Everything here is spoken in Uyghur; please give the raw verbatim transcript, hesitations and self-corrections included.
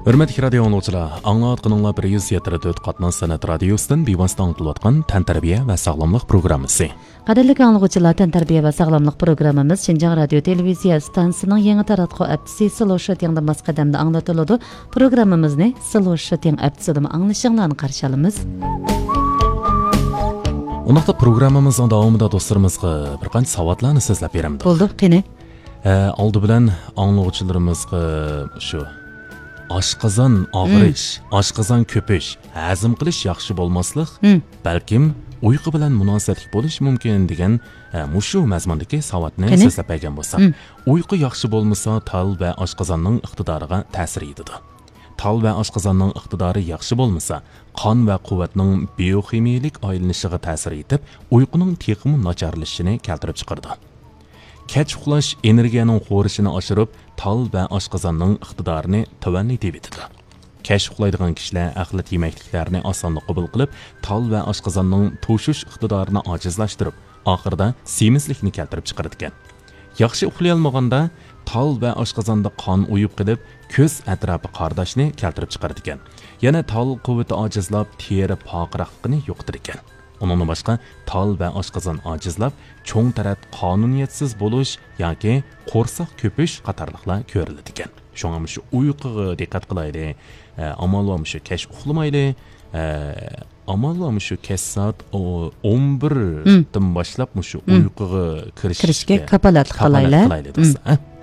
ھۆرمەتلىك رادىيو ئاڭلىغۇچىلار، ئاڭلاۋاتقىنىڭلار بىر يۈز يەتتە تۆت قاتناش سەنئەت رادىيوسىدىن بىۋاسىتە ئاڭلىتىلىۋاتقان تەنتەربىيە ۋە ساغلاملىق پروگراممىسى. قەدىرلىك ئاڭلىغۇچىلار، تەنتەربىيە ۋە ساغلاملىق پروگراممىمىز شىنجاڭ رادىيو تېلېۋىزىيە ئىستانسىسىنىڭ يېڭى تاراتقۇ ھەپتىسى سلو شوتىڭدا ماس قەدەمدە ئاڭلىتىلىدۇ. پروگراممىمىزنى سلو شوتىڭ ھەپتىسىدىمۇ ئاڭلىشىڭلارنى قارشى ئالىمىز. ئۇنداقتا پروگراممىمىزنىڭ داۋامىدا دوستلىرىمىزغا بىر قانچە ساۋاتلارنى سۆزلەپ بېرەمدۇق. بولدى، قېنى. ئە، ئالدى بىلەن ئاڭلىغۇچىلىرىمىزغا شۇ ئاشقازان ئاغرىش، ئاشقازان كۆپۈش، ھەزىم قىلىش ياخشى بولماسلىق، بەلكىم ئۇيقۇ بىلەن مۇناسىۋەتلىك بولۇشى مۇمكىن دېگەن، ئە، مۇشۇ مەزمۇندىكى ساۋاتنى سۆزلەپ بەرگەن بولساق، ئۇيقۇ ياخشى بولمىسا، تال ۋە ئاشقازاننىڭ ئىقتىدارىغا تەسىر يېتىدۇ. تال ۋە ئاشقازاننىڭ ئىقتىدارى ياخشى بولمىسا، قان ۋە قۇۋۋەتنىڭ بىيوخىمىيەلىك ئايلىنىشىغا تەسىر يېتىپ، ئۇيقۇنىڭ تېخىمۇ ناچارلىشىشىنى كەلتۈرۈپ چىقىرىدۇ. كەچ ئۇخلاش ئېنېرگىيەنىڭ خورىشىنى ئاشۇرۇپ، تال ۋە ئاشقازاننىڭ ئىقتىدارىنى تۆۋەنلىتىۋېتىدۇ. كەچ ئۇخلايدىغان كىشىلەر ئەخلەت يېمەكلىكلەرنى ئاسانلا قوبۇل قىلىپ، تال ۋە ئاشقازاننىڭ توشۇش ئىقتىدارىنى ئاجىزلاشتۇرۇپ، ئاخىرىدا سېمىزلىكنى كەلتۈرۈپ چىقىرىدىكەن. ياخشى ئۇخلىيالمىغاندا تال ۋە ئاشقازاندا قان ئۇيۇپ قېلىپ، كۆز ئەتراپى قارىداشنى كەلتۈرۈپ چىقىرىدىكەن. يەنە تال قۇۋۋىتى ئاجىزلاپ، تېرە پارقىراقلىقىنى يوقىتىدىكەن. ئۇنىڭدىن باشقا، تال ۋە ئاشقازان ئاجىزلاپ، چوڭ تەرەت قانۇنىيەتسىز بولۇش ياكى قورساق كۆپۈش قاتارلىقلار كۆرۈلىدىكەن. شۇڭا مۇشۇ ئۇيقۇغا دىققەت قىلايلى. ئە، ئامال بار مۇشۇ كەچ ئۇخلىمايلى. ئە، ئامال بار مۇشۇ كەچ سائەت ئو-، ئون بىردىن باشلاپ مۇشۇ ئۇيقۇغا كىرىشكە كىرىشكە كاپالەتلىك كاپالەت قىلايلى. قىلايلى دوستلار، ھە؟